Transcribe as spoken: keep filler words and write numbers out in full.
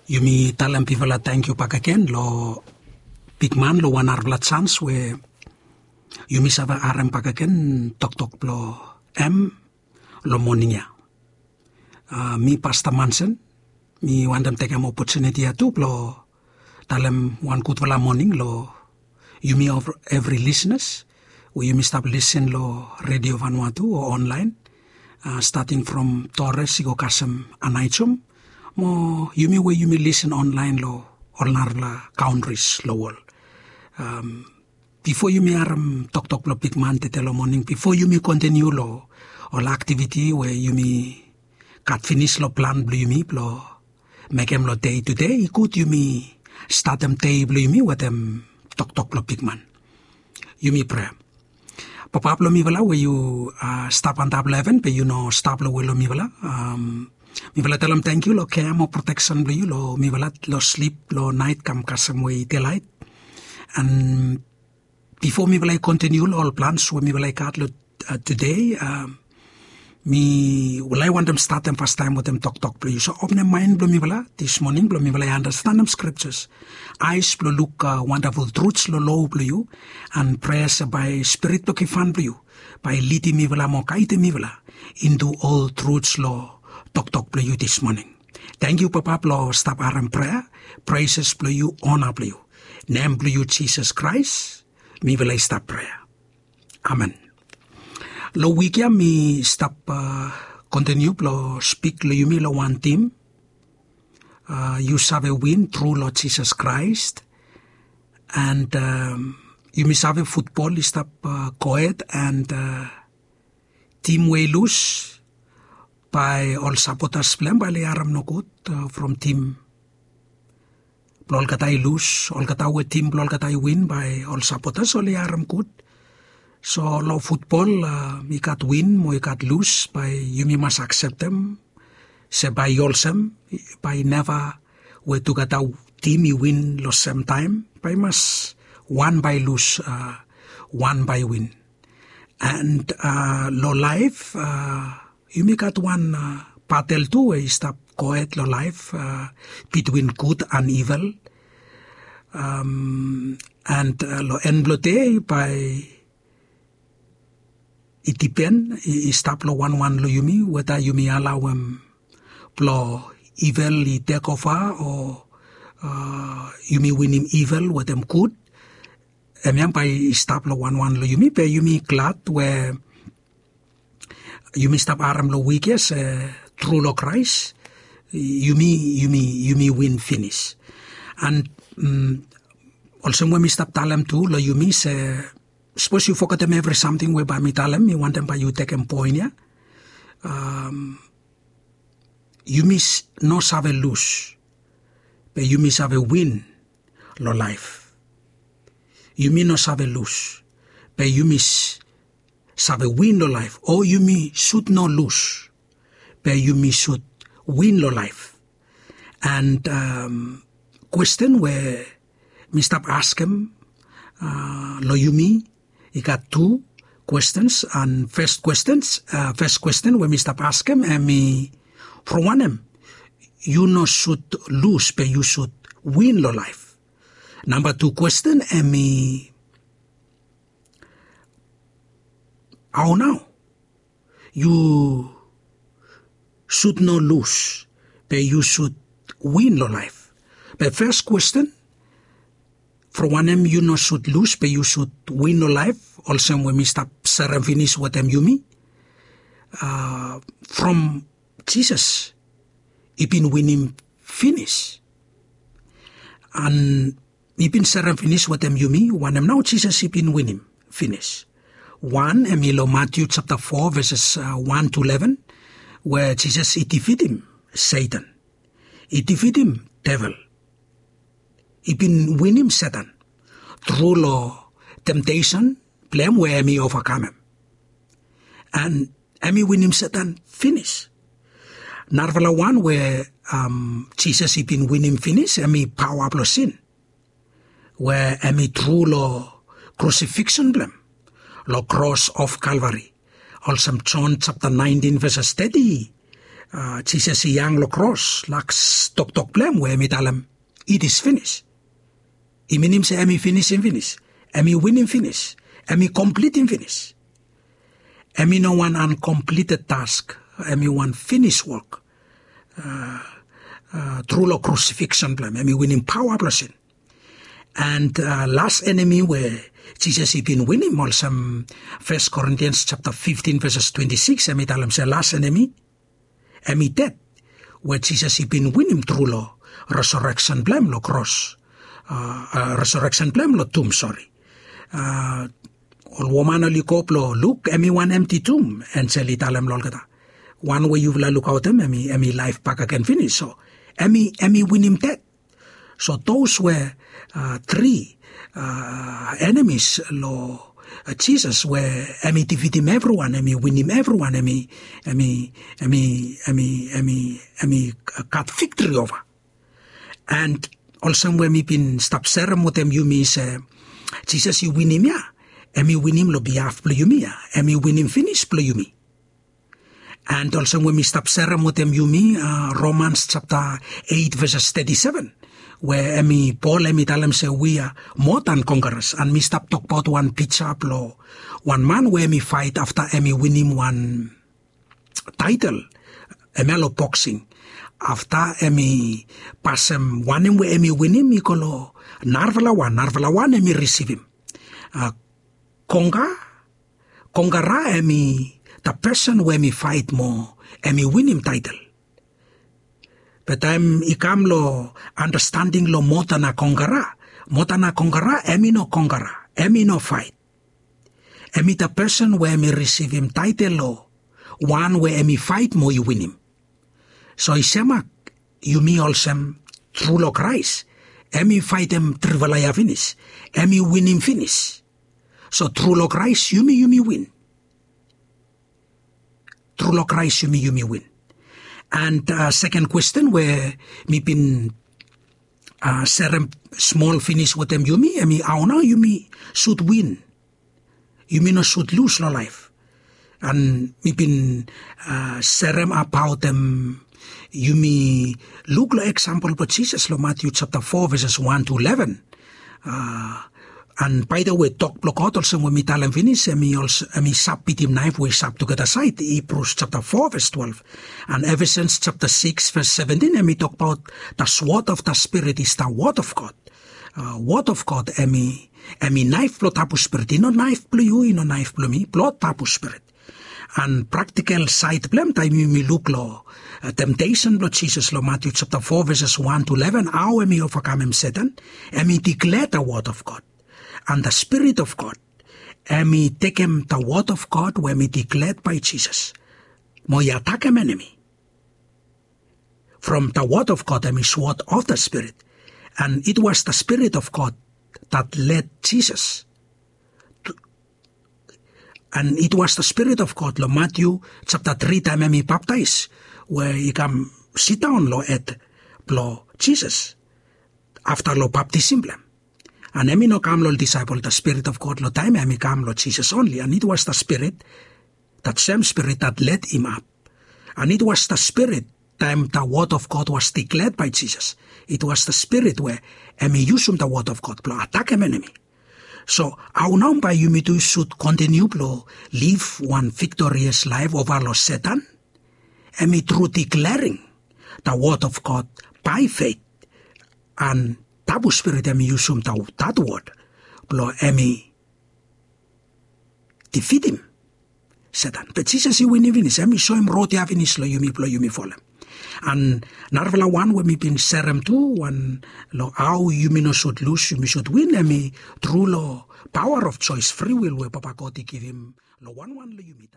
Yumi talem bifala tangkiu bakegen long bikman long wan narafala jans we yumi save harem bakegen toktok blong hem long moning ya. Mi pasta mansen, mi wantem tekem opotuniti ya tu blong talem wan gudfala moning long yumi evri lisnas we yumi stap lisin long redio vanua tu o onlaen, stating from tores i go kasem anaijom, mo yumi we yumi lisin onlaen long ol narafala kauntris long wol. Bifo yumi harem toktok blong bikman tete long moning, bifo yumi kontiniu long ol aktiviti we yumi gat finis long plan blong yumi blong mekem long dei tude, i gud yumi statem dei blong yumi wetem toktok blong bikman. Yumi prea. Papa blong mifala we yu stap antap long heven be yu no stap long we long mifala. Mifala talem tangkiu long kea mo proteksen blong yu long mifala long slip long naet kam kasem we i delaet. An bifo mifala i kontiniu long ol plans we mifala i gat long tude, mifala i wantem statem fastaem wetem toktok blong yu. So openem maen blong mifala dis moning blong mifala i anastenem skriptas, aes blong luk wandaful truts long lo blong yu, an prea se bae spirit blong givhan blong yu bae i lidim mifala mo gaedim mifala intu ol truts long toktok blong yu dis moning. Tangkiu Papa blong stap harem prea, preses blong yu, ona blong yu. Nem blong yu Jisas Kraes mifala i stap prea. Amen. Long wik ya mi stap kontiniu blong spik long yumi long wan tim, yu save win tru long Jisas Kraes. An yumi save futbol i stap gohed an tim we i lus, bae ol sapotas blong hem bae oli harem nogud from tim blong olgeta i lus. Olgeta we tim blong olgeta i win bae ol sapotas oli harem gud. So long futbol i gat win mo i gat lus, bae yumi mas akseptem se bae i olsem, bae i neva we tugeta tim i win long semtaem, bae i mas wan bae i lus, wan bae i win. An long laef yumi gat wan batel tu we i stap gohed long laef bitwin gud an ivel. An long en blong dei bae i dipen, i stap long wanwan long yumi weta yumi alaoem blong ivel i tekova o yumi winim ivel wetem gud. Hemia bae i stap long wanwan long yumi be yumi glad we yumi stap harem long wik ya se tru long Kraes yumi, yumi, yumi win finis. An olsem we mi stap talem tu long yumi se sapos yu fogetem evri samting we bae mi talem, mi wantem bae yu tekem poen ya. Yumi no save lus, be yumi save win long laef. Yumi no save lus, be yumi save win long laef. O yumi sud no lus, be yumi sud win long laef. An kwesten we mi stap askem long yumi, i gat tu kwestens. An fes kwestens, fes kwesten we mi stap askem hemi from wanem yu no sud lus be yu sud win long laef? Namba tu kwesten hemi hao nao yu sud no lus be yu sud win long laef? Be fes kwesten, from wanem yu no sud lus be yu sud win long laef, olsem we mi stap serem finis wetem yumi, from Jisas i bin winim finis. An mi bin serem finis wetem yumi wanem nao Jisas i bin winim finis. Wan hemi long Matiu japta fo veses wan tu leven, we Jisas i difitim Setan, i difitim devel, i bin winim Setan tru long temtesen blong hem we hemi ovakamem. An hemi winim Setan finis. Narafala wan we Jisas i bin winim finis hemi paoa blong sin, we hemi tru long krusifiksen blong hem long kros of Kalvari. Olsem Jon japta naentin veses teti Jisas i hang long kros, las toktok blong hem we hem i talem, it is finis. I minim se hem i finisim finis, hem i winim finis, hem i komplitim finis. Hem i no wan ankomplited task, hem i wan finis wok. Tru long krusifiksen blong hem hem i winim paoa blong sin. And las enemi we Jisas i bin winim olsem, Fes Korintians japta fiftin veses twenti sikis hem i talem se las enemi, hem i ded, we Jisas i bin winim tru long resareksen blong hem long kros, resareksen blong hem long tum, sori. Ol woman oli go blong luk, hem i wan emti tum, enjel i talem long olgeta, wan we yufala lukaotem hem i laef bakegen finis. So hem i winim ded. So dos we tri enemis long Jisas we hem i difitim evriwan, hem i winim evriwan, hem i, hem i, hem i, hem i, hem i gat viktri ova. And olsem we mi bin stap serem wetem yumi se Jisas i winim ya, hem i winim long bihaf blong yumi ya, hem i winim finis blong yumi. And olsem we mi stap serem wetem yumi, Romans japta eit veses teti seven, we hem i, Pol hem i talem se wi a moa dan konkaras. And mi stap tokbaot wan pija blong wan man we hem i faet afta hem i winim wan taetel, hemia long boksing. Afta hem i pasem wanem we hem i winim i go long narafala wan, narafala wan hem i risivim. Konka, konkara hem i the person we hem i faet mo hem i winim taetel. Be taem i kam long andastanding long moa dan konkara, moa dan konkara hem i no konkara, hem i no faet. Hem i the person we hem i risivim taetel long wan we hem i faet mo i winim. So i semak yumi olsem, tru long Kraes, hem i faetem trifala ya finis, hem i winim finis. So tru long Kraes yumi, yumi win. Tru long Kraes yumi, yumi win. And seken kwesten we mi bin serem smol finis wetem yumi, hem i hao nao yumi sud win, yumi no sud lus long laef. And mi bin serem abaot hem, yumi luk long eksampol blong Jisas long Matiu japta fo veses wan tu leven. And baedewe tok blong God olsem we mi talem finis, hem i sap bitim naef we i sap tugeta saed, Hibrus japta fo ves twelve. And Efesians japta sikis ves seventin hem i tokbaot the sword of the Spirit is the word of God. Word of God hem i, hem i naef blong tabu spirit. I no naef blong yu, i no naef blong mi, blong tabu spirit. And praktikel saed blong hem taem yumi luk long temtesen blong Jisas long Matiu japta fo veses wan tu leven, hao hem i ovakamem Setan, hem i diklea the word of God. And the Spirit of God hem i tekem the word of God we hem i diklead bae Jisas mo i atakem enemi. From the word of God hem i sword of the Spirit. And it was the Spirit of God that led Jesus. And it was the Spirit of God long Matiu japta tri taem hem i baptaes, we i kam sidaon long hed blong Jisas afta long baptism blong hem. And hem i no kam long ol disaepol, the Spirit of God long taem ya hem i kam long Jisas onli. And it was the Spirit, that same Spirit that led him up. And it was the Spirit, taem the word of God was declared by Jesus, it was the Spirit we hem i yusum the word of God blong atakem enemi. So hao nao bae yumi tu sud kontiniu blong liv wan viktorias laef ova long Setan? Hem i tru diklering the word of God bae feit, and tabu spirit hem i yusum that word blong hem i difitim Setan. Be Jisas i winim finis, hem i soem rod ya finis long yumi blong yumi folem. And narafala wan we mi bin serem tu, wan long hao yumi no sud lus, yumi sud win, hem i tru long power of choice, free will we Papa God i givim long wanwan long yumi.